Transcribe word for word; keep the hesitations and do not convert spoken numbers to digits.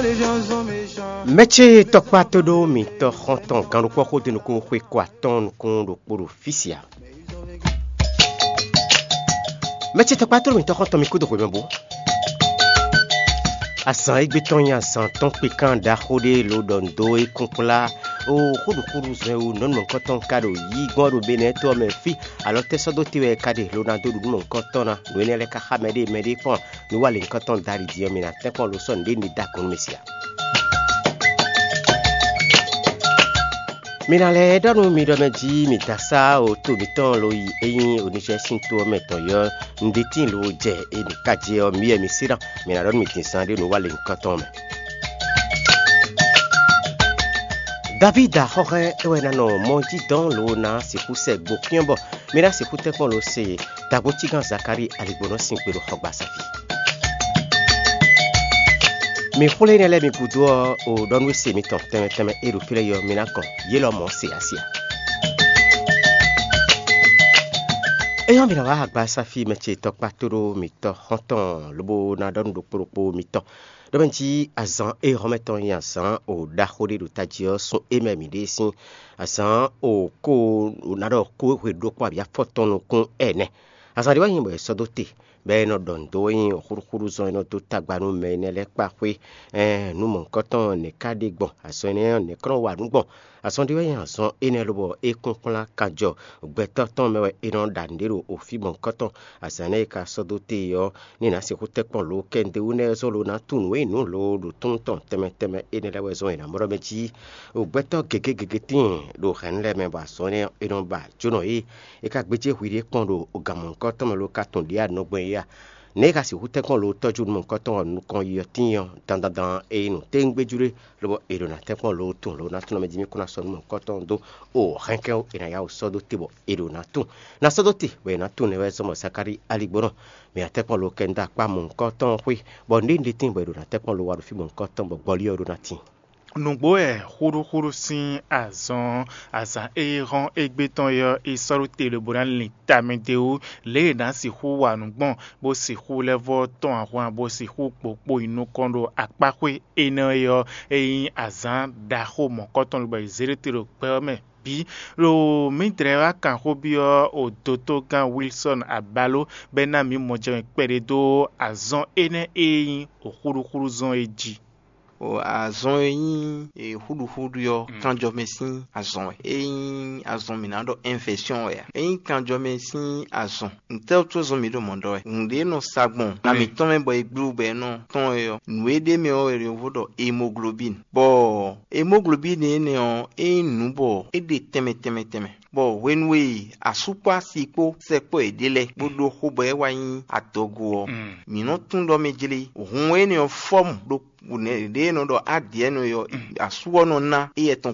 Mɛ ce tɔkpá tó ɖó mitɔ xɔntɔn gannukpɔ́ xódó nukún xwé kɔ atɔ́ɔ́n nukún ɖokpó ɖo fí sia. Mɛ ce tɔkpá tó ɖó mitɔ xɔntɔn mi kúdo xwé mɛ bó. Azǎn égbé tɔn nyí azǎn tɔn kpikán ɖaxó ɖé lo ɖɔ nǔ dó é kún kplá. O xóɖuxóɖu zɔn e wú nɔ́numɔ̌kɔtɔn ka ɖo yí gbɔn ɖo Benɛ́ to ɔ́ mɛ fí, alɔ tɛ́ sɔ́ dó te wɛ é ka ɖe lo ná dó ɖu nǔ mɔ̌hunkɔtɔn ná? Nǔ énɛ́ lɛ́ɛ ka xá mɛɖée mɛɖée kpɔ́n. Nú wa lě nyǐkɔ tɔn Dali din ɔ́, mi ná tɛ́nkpɔ́n lo sɔ́ nǔɖé ní da gɔ̌n nú mɛ se ǎ. Mi ná lɛ́ ɖɔ nú mi ɖɔ mɛ jí mi da sá o to mǐtɔn lo yi é nyí Onizɛ́ɛ sín to ɔ́ mɛ tɔn yi ɔ́, un ɖe tíin lo jɛ e mǐ ka jɛ ɔ́, mi wɛ mi sí ná. Mi ná ɖɔ nú mi din zán ɖé nǔ wa lě nyǐkɔ tɔn mɛ. Davídi axɔ́hɛ́n é wɛ ná nɔ mɔ jí dɔn lo ná sixú sɛ gbo xyɔ́n bɔ mi ná sixú tɛ́nkpɔ́n lo se Dagbojígán Zakalíi aligbɔnɔ sín gbe ɖo xɔgbasá fí. Mi xwlé énɛ́ lɛ́ɛ mi gúdo ɔ́, o ɖɔ nú e se mitɔn tɛnmɛ tɛnmɛ e ɖo fí lɛ́ɛ yi ɔ́, mi ná kɔn yě lɔmɔ̌ se ǎ se ǎ. É nyɔ́ mi ná wá agbasáfí mɛ ce tɔkpá tóɖó mitɔn xɔ́ntɔn lobo ná ɖɔ nú ɖokpó ɖokpó mitɔn ɖɔ mɛ jí azǎn e hɔn mɛ tɔn nyí azǎn o ɖaxó ɖé ɖo tají ɔ́, sun é mɛ mǐ ɖe sín azǎn o kó ná ɖɔ kó hwe ɖokpó abǐ afɔtɔn nukún ɛnɛ. Azǎn ɖé wɛ nyí bɔ è sɔ́ dó te, bɔ é nɔ ɖɔ nǔ dó wɛ nyí xúɖúxúɖú zɔn e nɔ dó tagba nú mɛ énɛ́ lɛ́ɛ kpa xwé. Ɛɛn nú mɔ̌hunkɔtɔn nɛ̌ ka ɖe gbɔn? Azɔn énɛ́ ɔ́, nɛ̌ kɔn nɔ wa nǔ gbɔn? Azɔn ɖé wɛ nyí azɔn énɛ́ lobɔ é kún kplán kanjɔ gbɛtɔ́ tɔn mɛ wɛ è nɔ ɖa nǔɖé ɖo ofí mɔ̌hunkɔtɔn. Azǎn énɛ́ e ka sɔ́ dó te ɔ́, ní è nǎ sixú tɛ́nkpɔ́n lǒ kɛ́ nǔɖé wú nɛ́ zɔ́n lo ná tunwun nú é nǔ lo ɖo túntɔn tɛnmɛ tɛnmɛ énɛ́ lɛ́ɛ wɛ zɔ́n è nǎ mɔ ɖɔ mɛ jí. Ɖo gbɛtɔ́ gěgé gěgé tíin ɖo hɛ̌nnu lɛ́ɛ mɛ bɔ azɔn énɛ́ ɔ́, è nɔ ba jónɔ yě. É ka gbéjé hwi ɖé kpɔ́n ɖo gǎnmɔ̌hunkɔtɔn mɛ lo ka tunwun ɖě a nɔ gbɔn é a? Nɛ̌ é ka sixú tɛ́nkpɔ́n lo tɔ́jú nukɔntɔn ɔ́ nukɔn yi ɔ́ tíin ɔ́, dandan dan é nyí nǔ téwúngbéjú ɖé, lobo è ɖo ná tɛ́nkpɔ́n lo tunwun lo ná tunwun mɛ jí mì kún ná sɔ́ nú mɔ̌hunkɔtɔn dó o hɛnkɛ́n é ná yá wǔ sɔ́ dó te bɔ è ɖo ná tunwun. Ná sɔ́ dó te bɔ è nǎ tunwun nɛ́ wɛ zɔ́n bɔ Zakalíi aligbɔnɔ mɛ atɛ́kpɔ́n lo kɛ nú dó akpá mɔ̌hunkɔtɔn xwé, bɔ nǔɖé nǔɖé tíin bɔ è ɖo ná tɛ́kpɔ́n lo wa ɖo fí mɔ̌hunkɔtɔn bɔ gbɔlí ɔ́ ɖó ná tíin. Nǔgbó wɛ xúɖúxúɖú sín azɔn, azǎn e hɔ́n égbé tɔn é ɔ́, è sɔ́ ɖó te lobo ná lin tamɛ d'é wú, lě e è nǎ sixú wa nǔ gbɔn, bó sixú lɛ́ vɔ́ tɔ́n ahwan, bó sixú kpokpo nyi nukɔn ɖo akpáxwé énɛ́ é ɔ́, é nyí azǎn ɖaxó mɔ̌kɔtɔn lobɔ è zě ɖó te ɖo gbɛ ɔ́ mɛ bǐ. Lo mǐdɛɛ wá kan xó byɔ́ o dotogán Wilsɔ́n Abaló bɔ é ná mǐ mɔjɛmɛ kpɛɖé dó azɔn énɛ́ e nyí xúɖuxúɖu zɔn é jí. O azɔn e nyí e xúɖuxúɖu ɔ́, kanjɔmɛ sín azɔn wɛ. É nyí azɔn mǐ ná ɖɔ ɛnfɛsyɔn wɛ a? É nyí kanjɔmɛ sín azɔn. Ntɛ́ wútu zɔn mǐ ɖo mɔ̌ ɖɔ wɛ? Nǔɖé nɔ sa gbɔn na mǐtɔn mɛ bɔ è gblú bɔ è nɔ tɔn é ɔ́, nǔ e ɖ'é mɛ ɔ́ wɛ è nɔ vo ɖɔ hémoglobín. Bɔ hémoglobín énɛ́ ɔ́, é nyí nǔ bɔ é ɖe tɛnmɛ tɛnmɛ tɛnmɛ. Bɔ hwenu e asú kpó asi kpó sɛkpɔ́ yěɖée lɛ́ɛ bó ɖó xó bɔ é wá nyí adɔgo ɔ́, mǐ nɔ tunwun ɖɔ mɛ jlé hun énɛ́ ɔ́ fɔ́mu ɖo ɖě e nɔ ɖɔ ádǐɛnɔ é ɔ́, asú ɔ́ nɔ ná éyɛ́ tɔn